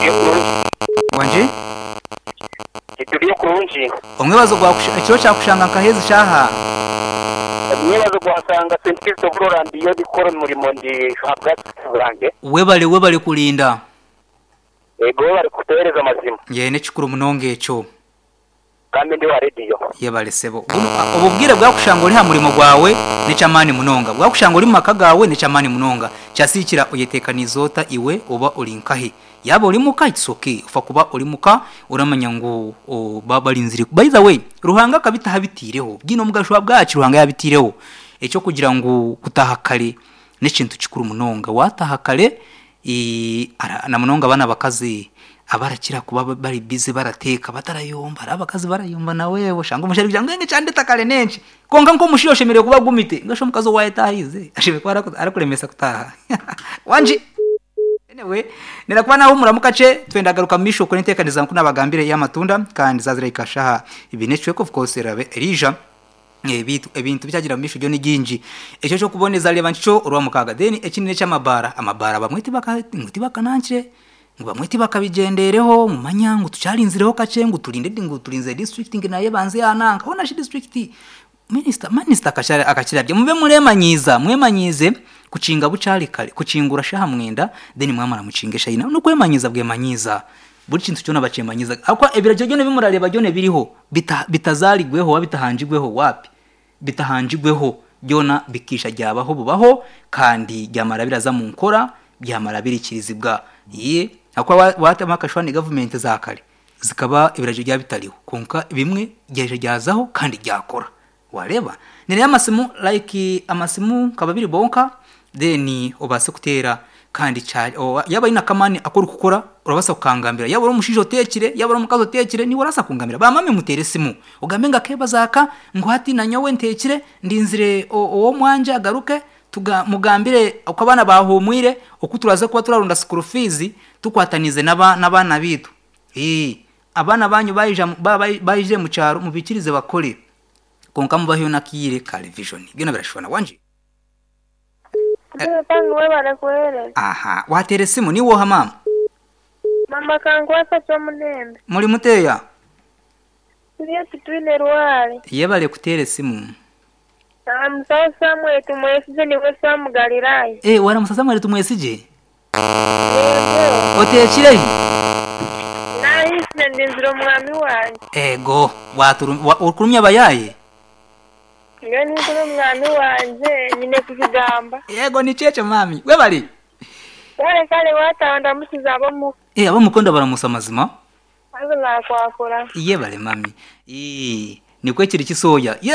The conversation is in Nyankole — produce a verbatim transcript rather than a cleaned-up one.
Turiyo kurungi. Wangi? Turiyo kurungi. Omwebazo gwa ekiro kyakushanga nkahezi shaha. Omwebazo gwasanga Saint Christopher Rora ndiyo ndikukora omurimo ndi ahabwa bwange. Webale webale kulinda. Ego bari kutuhereza amazima. Ye n'ekikuru munonga ekyo. Kandi ndi wa rediyo. Yebale sebo. Buno obubwire bwakushanga ori ha murimo gwawe n'ekyamaani munonga. Bwakushanga ori mu maka gawe n'ekyamaani munonga. Kyasikira oyeteekaniza ota iwe oba ori nkahi. Yaba ori muka it's okay. Ofa kuba ori muka oramanya ngu o, ba barinzire. By the way, Ruhanga akabitaha bitiireho. Bwine omugasho bwaki Ruhanga yabitiireho. Ekyo kugira ngu kutaha kare n'ekintu kikuru munonga. Wataha kare ee, ara- na munonga abaana abakazi abarakira kuba bari busy barateeka batarayomba. Hariho abakazi barayomba nawe oshanga omushaija kugira ngu enge kyandeta kare nenki. Konka nk'omushaija oshemereire kuba agumite. Ngasha omukazi owayetahize ashemereire kuba araku- arakuremesa kutaha. Wangi? Anyway, nera kuba naho muramu kakye twenda garuka mu misho kuri enteekaniza nku nabagambire y'amatunda kandi zazira ikashaha ibi n'ekicweka of course erabe erija ebintu ebintu bikyagira mu misho byo ni gingi ekyo kyokuboneza reba nkikyo orwa mukaga. Then ekindi n'ekyamabara amabara bamwe tibaka ngu tibakanankire ngu bamwe tibakabigendereho mumanya ngu tukyarinzireho kakye ngu turinde ngu turinze district ngu naye banze yananka hona shi district minister minister akashara akakirabye mube muremanyiza mwemanyize kukinga bukyari kare kukingura shaha mwenda then mwamara mukinge shayina nokwemanyiza bwemanyiza buri kintu kyona bakyemanyiza akwa ebiragiro byona bimurareba byona biriho bita, bitazarigweho wa bitahanjigweho wapi bitahanjigweho byona bikisha ryabaho bubaho kandi byamara biraza mu nkora byamara birikirizibwa ye akwa watama akashwani government za kare zikaba ibiragiro bya bitariho konka bimwe byaje ryazaho kandi ryakora wareba nere amasimu like amasimu kaba biri bonka then obase kutera kandi cha o- yaba ina kamani akora kukora urabasa kukangambira yaba uri umushijo otekire yaba uri omukazi otekire niwe urasa kungambira bamame mutere simu ugambe nga kebazaka ngo hati na nyowe ntekire ndinzire owo mwanje agaruke tuga mugambire uko abana bahumwire uko turaza kuba turarunda school fees tukwatanize n'aba n'abana bitu eh abana banyu bayija mu- ba- bayi- bayije mu cyaro mubikirize bakore konka mubaheyo nakire kare vision byona birashobora wanje. Tangu webale kuhereza. Aha watere simu ni woha mama? Mama kankwasa kyomulembe. Muri muteya? Turiyo tutwine rware. Yebale kutere simu. Musawo Samuel tumwesije niwe Samu Galilaya. Eh wara musasa mwere tumwesije? Yego. Otekire? Nahise ndinzira omwami wange. Ego waturu wa, ukurumya abayaye? Nge ninkuru omwami wanje nyine kukigamba. Yego ni cheche mami webale. Kale kale watanda musiza abomu. Eh abamukonda baramusa mazima. Azo nakwakura. Yebale mami. Eh nikwe kiri kisoya.